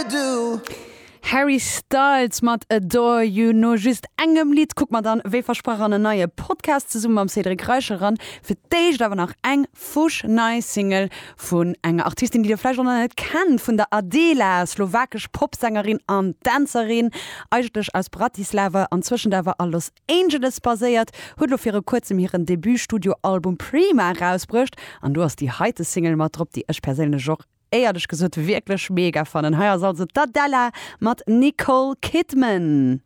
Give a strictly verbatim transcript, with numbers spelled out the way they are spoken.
ever do. Harry Styles mat Adore You. No just engem Lidd kucke mer dann, wéi versprach, an en neie Podcast zesumme mam Cédric Reichel eran. Fir d'éischt awer nach eng fuschnei Single vun enger Artistin, déi dir vläicht och nach net kennt, vun der Adela, slowakesch Popsängerin an Dänzerin, eigentlech aus Bratislava, anzwëschen awer a Los Angeles baséiert, huet lo viru kuerzem hiren Debut-Studioalbum Prima erausbruecht an do ass déi heite Single mat drop, déi ech perséinlech och éierlech gesot wierklech mega fannen. Hei ass also d'Adela mat Nicole Kidman.